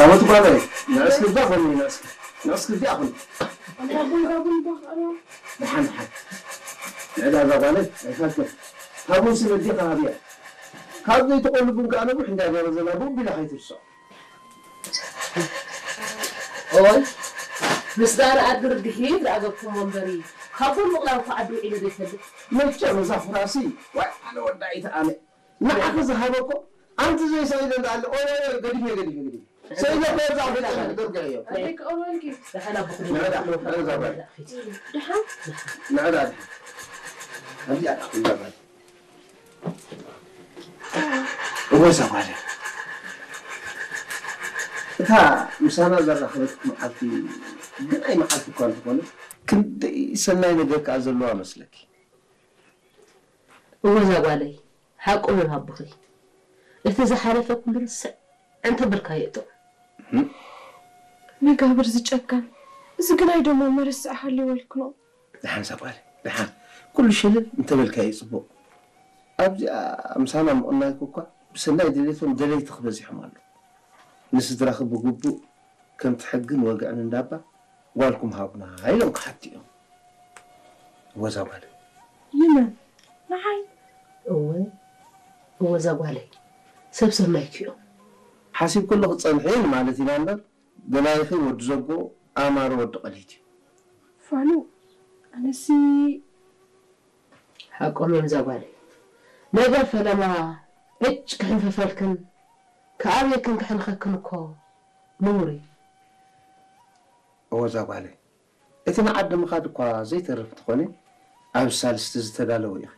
ሞት ጓለይ፣ ንዕስኪ እዛ ኾኒ፣ ንዕስኪ፣ ንዕስኪ እዚኣ ኾኒ። ኣንታ ቡን፣ እዛ ቡን እባ ክቐርባ። ደሓን፣ ደሓን። ንዕዳ እዛ ጓለይ፣ ኣይፋልክን። እታ ቡን ስለ ኣዴኻ ሃብያ። ካብ ዘይትቆሉ ቡን ከኣ ነዊሕ እንዳ ገበዘና ብኡ ቢላ ከይትርስዖ። ኦይ፣ ምስ ዳር ኣድር ድሒር ዝኣገድኩሞ እምበሪ፣ ካብ ቡን ምቕላው እኮ ዓዲ ውዒሉ ዘይፈልጥ። መቸም እዛ ፍራሲ፣ ዋይ፣ ኣነ ወዳኢት ኣነ። ንዓኺ ዝሃበ እኮ ኣንቲ ዘይሰኢለ እንዳኣለ፣ ኦይ፣ ኦይ፣ ኦይ፣ ገዲፈ፣ ገዲፈ፣ ገዲፈ። ሰኢለ እኮ እዛ ኣፍሪቃ ገርግዐዮ። ኣደይ ክቐርበልኪ። ደሓን ኣቦኹም ንዕዳ፣ ንዕዳ ጓል። ደሓን? ንዕዳ፣ ኣብዚኣ ደኣ ክንዛረብ። እወ፣ እዛ ጓል እያ። እታ ምሳና ዘራኸበትኩ መዓልቲ፣ ግናይ መዓልቲ እኳ እንተኾነ፣ ክንደይ ሰናይ ነገር ከኣ ዘለዋ መስለኪ። እወ፣ እዛ ጓለይ፣ ሓቆም እዮም ኣቦኺ። እቲ ዝሓለፈ ኩሉ ርስዕ እንተበልካዮ ጥዑም። እም። መጋብር ዝጨከን፣ እዚ ግናይ ደሞ መርስዕ ሃልይወልክኖ። ደሓን እዛ ጓለይ፣ ደሓን። ኩሉ ሸለል እንተበልካዮ ጽቡቕ። ኣብዚኣ ምሳና ምቕናይኩ እኳ ብሰናይ ድሌቶም ደለይቲ ክበዚሖም ኣለዉ። ንስድራኺ ብግቡእ ከምቲ ሕግን ወግዕን እንዳባ ጓልኩም ሃቡና ኢሎም ክሓቱ እዮም። እወ እዛ ጓለይ። ንመን? ንዓይ? እወ፣ እወ እዛ ጓለይ። ሰብ ሰናይኪ እዮም። ሓሲብክሉ ክትጸንሒ ማለት ኢና እምበር፣ ደላይኺ ወዲ ዘጎ፣ ኣማረ ወዲ ቀሊት እዩ። ፋኑ፣ ኣነሲ ሓቆም እዮም እዛ ጓለይ። ነገር ፈለማ ዕጭ ክሕንፈፈልክን ክኣብየክን ክሕንኸክን እኮ ነውሪ። እወ እዛ ጓለይ፣ እቲ ንዓዲ ምኻድ እኳ ዘይተርፍ እንተኾነ፣ ኣብ ሳልስቲ ዝተዳለወ ኢኺ።